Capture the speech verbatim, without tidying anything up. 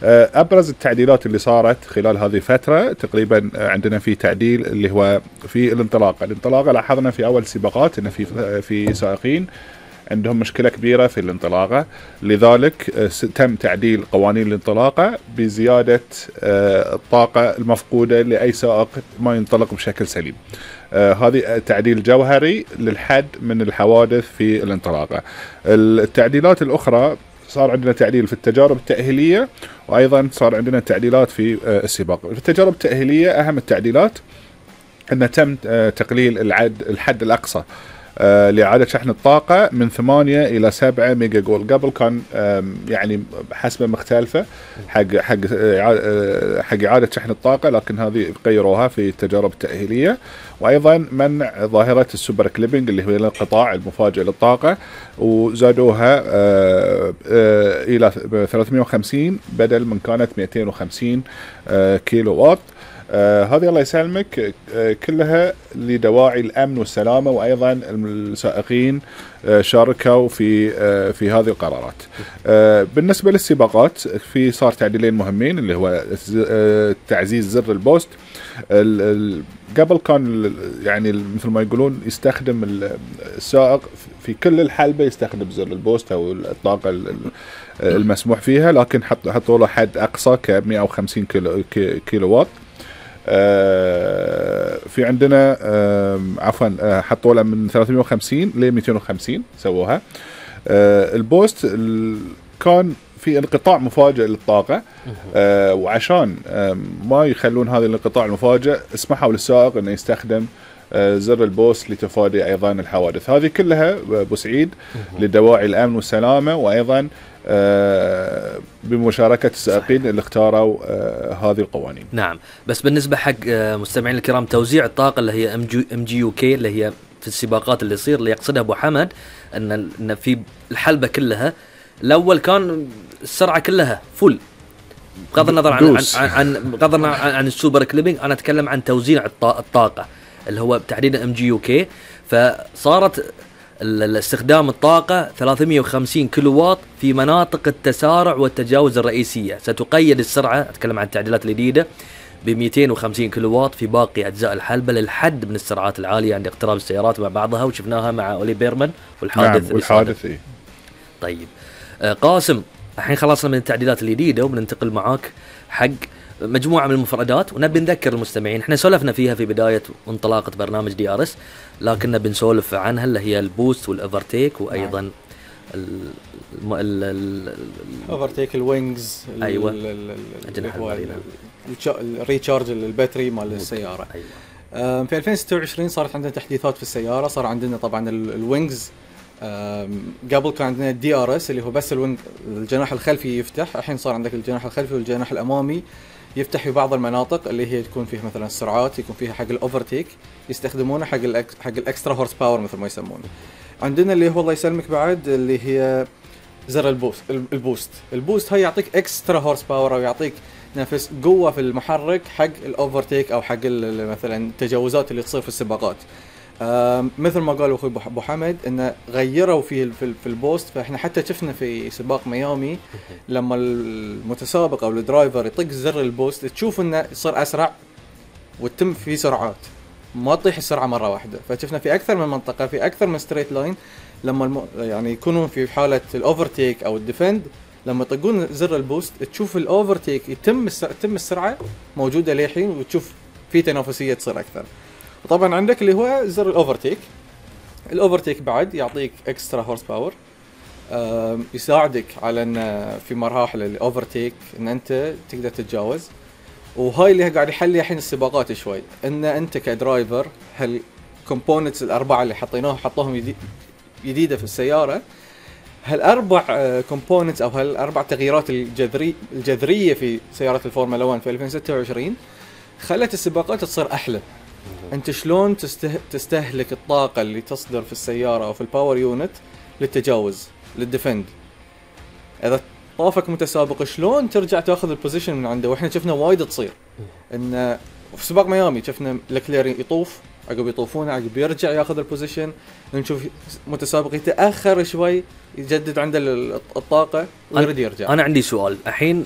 أبرز التعديلات اللي صارت خلال هذه الفترة تقريبا عندنا في تعديل اللي هو في الانطلاقة. الانطلاقة لاحظنا في أول سباقات أن في في سائقين عندهم مشكلة كبيرة في الانطلاقة، لذلك تم تعديل قوانين الانطلاقة بزيادة الطاقة المفقودة لأي سائق ما ينطلق بشكل سليم. هذه تعديل جوهري للحد من الحوادث في الانطلاقة. التعديلات الأخرى صار عندنا تعديل في التجارب التأهيلية، وأيضا صار عندنا تعديلات في السباق. في التجارب التأهيلية أهم التعديلات أن تم تقليل العد الحد الأقصى آه لإعادة شحن الطاقة من ثمانية إلى سبعة ميجا جول. قبل كان يعني حسبة مختلفة حق حق حق إعادة شحن الطاقة، لكن هذه غيروها في التجارب التأهيلية. وأيضا منع ظاهرة السوبر كليبنج اللي هو الانقطاع المفاجئ للطاقة، وزادوها آه آه إلى ثلاثمئة وخمسين بدل من كانت مئتين وخمسين آه كيلو واط. آه هذه الله يسلمك آه كلها لدواعي الأمن والسلامة، وأيضا السائقين آه شاركوا في آه في هذه القرارات. آه بالنسبة للسباقات في صار تعديلين مهمين اللي هو آه تعزيز زر البوست. قبل كان يعني مثل ما يقولون يستخدم السائق في كل الحلبة يستخدم زر البوست أو الطاقة المسموح فيها، لكن حطوا له حد أقصى ك مئة وخمسين كيلو, كيلو واط. آه في عندنا آه عفوا آه حطوا له من ثلاثمئة وخمسين ل مئتين وخمسين سووها. آه البوست كان في انقطاع مفاجئ للطاقة، آه وعشان آه ما يخلون هذا الانقطاع المفاجئ اسمحوا للسائق انه يستخدم آه زر البوست لتفادي ايضا الحوادث. هذه كلها ابو سعيد لدواعي الامن والسلامة، وايضا آه بمشاركة السائقين اللي اختاروا آه هذه القوانين. نعم، بس بالنسبة حق آه مستمعين الكرام، توزيع الطاقة اللي هي ام جي يو كي اللي هي في السباقات اللي يصير، اللي يقصدها ابو حمد ان ان في الحلبة كلها الاول كان السرعة كلها فل، بغض النظر عن عن عن بغض النظر عن, عن السوبر كليبنج. انا اتكلم عن توزيع الطاقة اللي هو تحديدا ام جي يو كي. فصارت الاستخدام الطاقة ثلاثمئة وخمسين كيلو واط في مناطق التسارع والتجاوز الرئيسية. ستقيد السرعة، أتكلم عن التعديلات الجديدة، ب مئتين وخمسين كيلو واط في باقي أجزاء الحلبة للحد من السرعات العالية عند اقتراب السيارات مع بعضها، وشفناها مع أولي بيرمان والحادث. نعم، والحادث إيه. طيب آه قاسم، الحين خلصنا من التعديلات الجديدة وبننتقل معاك حق مجموعة من المفردات، ونبي نذكر المستمعين احنا سولفنا فيها في بداية انطلاقة برنامج دي ار اس، لكننا بنسولف عنها اللي هي البوست والاوفرتيك، وايضا الاوفرتيك، الوينجز، ايوه الريتشارج الباتري مال السيارة. أيوة. في ألفين وستة وعشرين صارت عندنا تحديثات في السيارة. صار عندنا طبعا الوينجز، قبل كان عندنا الدي ار اس اللي هو بس الوينج الجناح الخلفي يفتح، الحين صار عندك الجناح الخلفي والجناح الامامي يفتح في بعض المناطق اللي هي تكون فيها مثلا السرعات، يكون فيها حق الاوفرتيك، يستخدمونه حق الأكس حق الاكسترا هورس باور مثل ما يسمونه. عندنا اللي هو الله يسلمك بعد اللي هي زر البوست. البوست البوست هاي يعطيك اكسترا هورس باور، او يعطيك نفس قوه في المحرك حق الاوفرتيك او حق مثلا التجاوزات اللي تصير في السباقات. آه مثل ما قالوا اخوي ابو حمد انه غيروا في في البوست. فاحنا حتى شفنا في سباق ميامي لما المتسابق او الدرايفر يطق زر البوست تشوف انه يصير اسرع وتتم في سرعات، ما تطيح السرعه مره واحده. فشفنا في اكثر من منطقه في اكثر من ستريت لاين لما الم... يعني يكونوا في حاله الاوفرتيك او الديفند، لما يطقون زر البوست تشوف الاوفرتيك يتم السر... تتم السرعه موجوده للحين، وتشوف في تنافسيه تصير اكثر. وطبعا عندك اللي هو زر الاوفرتيك. الاوفرتيك بعد يعطيك اكسترا هورس باور، يساعدك على ان في مراحل الاوفرتيك ان انت تقدر تتجاوز. وهاي اللي قاعد يحلي الحين السباقات شوي، ان انت كدرايفر هالكومبوننتس الاربعه اللي حطيناها حطوهم جديده في السياره، هالاربع كومبوننتس او هالاربع تغييرات الجذري الجذريه في سياره الفورمولا واحد في ألفين وستة وعشرين خلت السباقات تصير احلى. انت شلون تسته... تستهلك الطاقه اللي تصدر في السياره او في الباور يونت للتجاوز للديفند. اذا طافك متسابق شلون ترجع تاخذ البوزيشن من عنده. واحنا شفنا وايد تصير ان في سباق ميامي شفنا لكلير يطوف، عقب يطوفون عقب يرجع ياخذ البوزيشن، نشوف متسابق يتاخر شوي يجدد عنده الطاقه ويرد يرجع. انا عندي سؤال الحين،